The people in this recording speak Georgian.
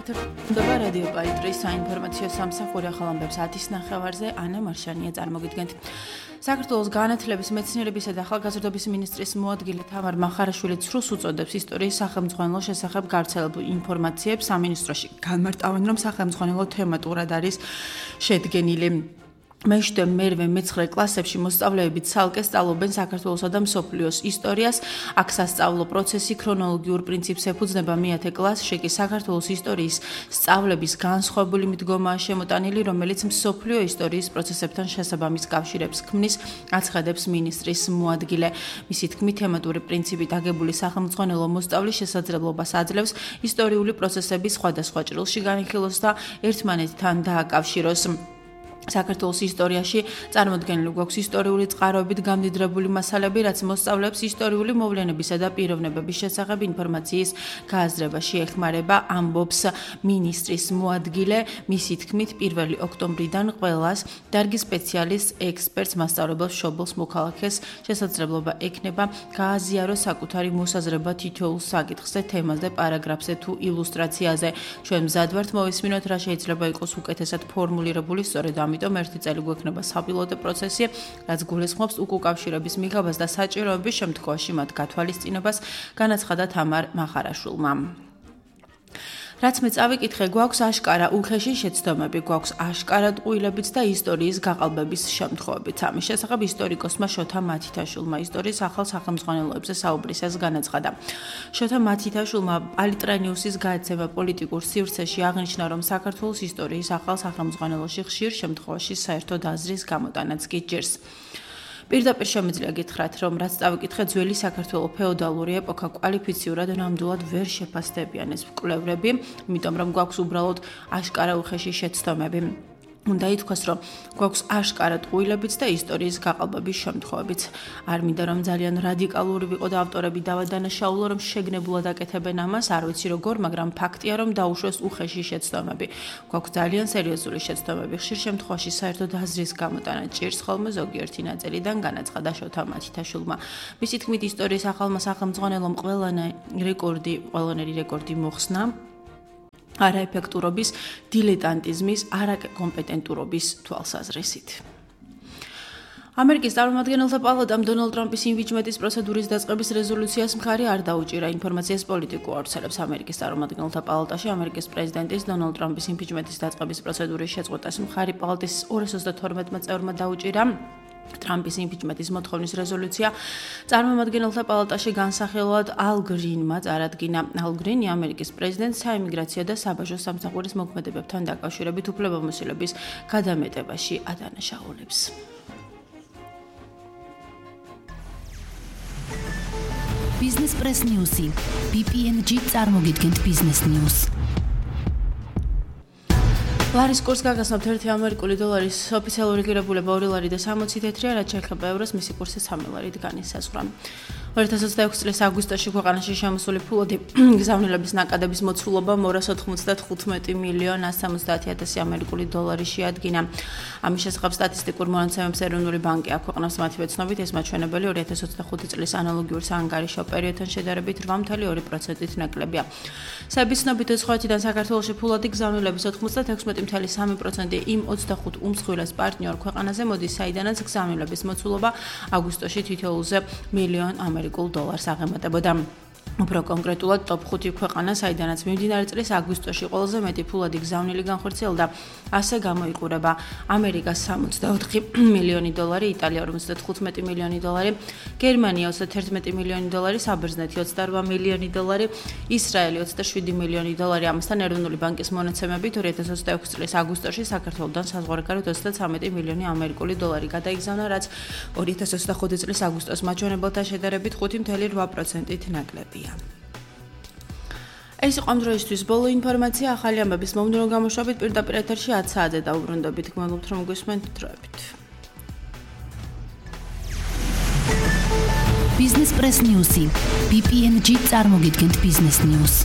ეთერდება რადიო პაიტრის საინფორმაციო სამსახური ახალ ამბებს 10:09-ზე ანა მარშანია წარმოგიდგენთ. საქართველოს განათლების, მეცნიერებისა და ახალგაზრდობის მინისტრის მოადგილე თამარ მახარაშვილი ცრუს უწოდებს ისტორიის სახელმძღვანელო შესახებ გავრცელებულ ინფორმაციებს. სამინისტროში განმარტავენ, რომ სახელმძღვანელო თემატურად არის შედგენილი. მეშვიდე, მერვე, მეცხრე კლასებში მოსწავლეები ცალკე სწავლობენ საქართველოსა და მსოფლიოს ისტორიას. აქ სასწავლო პროცესი ქრონოლოგიურ პრინციპს ეფუძნება. მე-10 კლასში კი საქართველოს ისტორიის სწავლების განსხვავებული მიდგომაა შემოტანილი, რომელიც მსოფლიო ისტორიის პროცესებთან შესაბამის კავშირებს ქმნის, აცხადებს მინისტრის მოადგილე. მისი თქმით, თემატური პრინციპით აგებული სახელმძღვანელო მოსწავლის შესაძლებლობას აძლევს ისტორიული პროცესების სხვადასხვა ჭრილში განიხილოს და ერთმანეთთან დააკავშიროს. საქართველოს ისტორიაში წარმოდგენილი გვაქვს ისტორიული წყაროებით გამდიდრებული მასალები, რაც მოსწავლეებს ისტორიული მოვლენებისა და პიროვნებების შესახებ ინფორმაციის გააზრებაში ეხმარება, ამბობს მინისტრის მოადგილე. მისი თქმით, 1 ოქტომბრიდან ყველას დარგის სპეციალისტს, ექსპერტს, მასწავლებელს, მშობელს, მოქალაქეს შესაძლებლობა ექნება გააზიაროს საკუთარი მოსაზრება თითოეულ საკითხზე, თემაზე, პარაგრაფზე თუ ილუსტრაციაზე. ჩვენ მზად ვართ მოვისმინოთ, რა შეიძლება იყოს უკეთესად ფორმულირებული, სწორედ ამიტომ ერთი წელი გვექნება საპილოტო პროცესი, რაც გულისხმობს უკავშირების მიღებას და საჭიროების შემთხვევაში მათ გათვალისწინებას, განაცხადა თამარ მახარაშვილმა. რაც მე წავიკითხე, გვაქვს აშკარა უხეში შეცდომები, გვაქვს აშკარა ტყუილებიც და ისტორიის გაყალბების შემთხვევებიც. ამის შესახებ ისტორიკოსმა შოთა მათითაშვილმა ისტორიის ახალ სახელმძღვანელოებზე საუბრისას განაცხადა. შოთა მათითაშვილმა პალიტრენიუსის გააცემა პოლიტიკურ სივრცეში აღნიშნა, რომ საქართველოს ისტორიის ახალ სახელმძღვანელოში ხშირ შემთხვევაში საერთოდ აზრის გამოტანაც კი ჭირს. პირდაპირ შემიძლია გითხრათ, რომ რაც წავიკითხე, ძველი საქართველოს ფეოდალური ეპოქა კვალიფიციურად ნამდვილად ვერ შეფასდებიან ეს მკვლევრები, იმიტომ რომ გვაქვს უბრალოდ აშკარა უხეში შეცდომები. უნდა ითქვას, რომ გვაქვს აშკარა ტყუილებიც და ისტორიის გაყალბების შემთხვევებიც. არ მინდა რომ ძალიან რადიკალური ვიყო და ავტორები დავადანაშაულო, რომ შეგნებულად აკეთებენ ამას, არ ვიცი როგორ, მაგრამ ფაქტია, რომ დაუშვეს უხეში შეცდომები. გვაქვს ძალიან სერიოზული შეცდომები. ხშირ შემთხვევაში საერთოდ აზრის გამოტანა ჭირს ხოლმე ზოგიერთი ნაწილიდან, განაცხადა შოთა მათითაშვილმა. მისი თქმით, ისტორიის ახალმა სახელმძღვანელომ ყველანაირი რეკორდი მოხსნა. არაეფექტურობის, დილეტანტიზმის, არაკომპეტენტურობის თვალსაზრისით. ამერიკის წარმომადგენელთა პალატამ დონალდ ტრამპის იმპიჩმენტის პროცედურის დაწყების რეზოლუციას მხარი არ დაუჭირა. ინფორმაციას პოლიტიკურ აუცილებს ამერიკის წარმომადგენელთა პალატაში ამერიკის პრეზიდენტის დონალდ ტრამპის იმპიჩმენტის დაწყების პროცედურის შეწყვეტას მხარი პალატის 232 წევრმა დაუჭირა. ტრამპის იმპიჩმენტის მოთხოვნის რეზოლუცია წარმომადგენელთა პალატაში განსახილვად ალ გრინმა წარადგინა. ალ გრინი ამერიკის პრეზიდენტს საიმიგრაციო და საბაჟო სამსახურის მოქმედებებთან დაკავშირებით უფლებამოსილების გადამეტებაში ადანაშაულებს. ბიზნეს პრეს ნიუსი. BPNG წარმოგიდგენთ ბიზნეს ნიუს. ლარის კურსს გაგაცნობთ 1 ამერიკული დოლარის ოფიციალური ღირებულება 2 ლარი და 60 თეთრია, რაც შეიძლება ევროს მისი კურსი 3 ლარით განისაზღვრა. 2026 წლის აგვისტოში ქვეყანაში შემოსული ფულადი გზავნილების ნაკადების მოცულობა 295 მილიონ 170,000 ამერიკული დოლარი შეადგინა. ამის შესახებ სტატისტიკურ მონაცემებს ეროვნული ბანკი აქვეყნებს. მათივე ცნობით, ეს მაჩვენებელი 2025 წლის ანალოგიურ საანგარიშო პერიოდთან შედარებით 8.2%-ით ნაკლებია. SEBIS ცნობით 2020-დან საქართველოში ფულადი გზავნილების 96.3% იმ 25 უმსხვილეს პარტნიორ ქვეყანაზე მოდის, საიდანაც გზავნილების მოცულობა აგვისტოში თითოეულზე მილიონ ამერიკულ დოლარს აღემატებოდა. უფრო კონკრეტულად, ტოპ 5 ქვეყანა, საიდანაც მიმდინარე წლის აგვისტოში ყველაზე მეტი ფულადი გზავნილი განხორციელდა, ასე გამოიყურება ამერიკა 64 მილიონი დოლარი, იტალია 55 მილიონი დოლარი, გერმანია 31 მილიონი დოლარი, საბერძნეთი 28 მილიონი დოლარი, ისრაელი 27 მილიონი დოლარი. ამასთან ეროვნული ბანკის მონაცემებით 2026 წლის აგვისტოში საქართველოსთან საზღვარგარეთ 33 მილიონი ამერიკული დოლარი გადაიგზავნა, რაც 2025 წლის აგვისტოს მაჩვენებელთან შედარებით 5.8%-ით ნაკლებია. ეს იყო ამ დროისთვის ბოლო ინფორმაცია. ახალი ამბების მომდევნო გამოშვებით პირდაპირ ეთერში 10 საათზე დაუბრუნდებით. გმადლობთ, რომ გვისმენთ დროებით. ბიზნეს პრეს ნიუსი. BPNG წარმოგიდგენთ ბიზნეს ნიუს.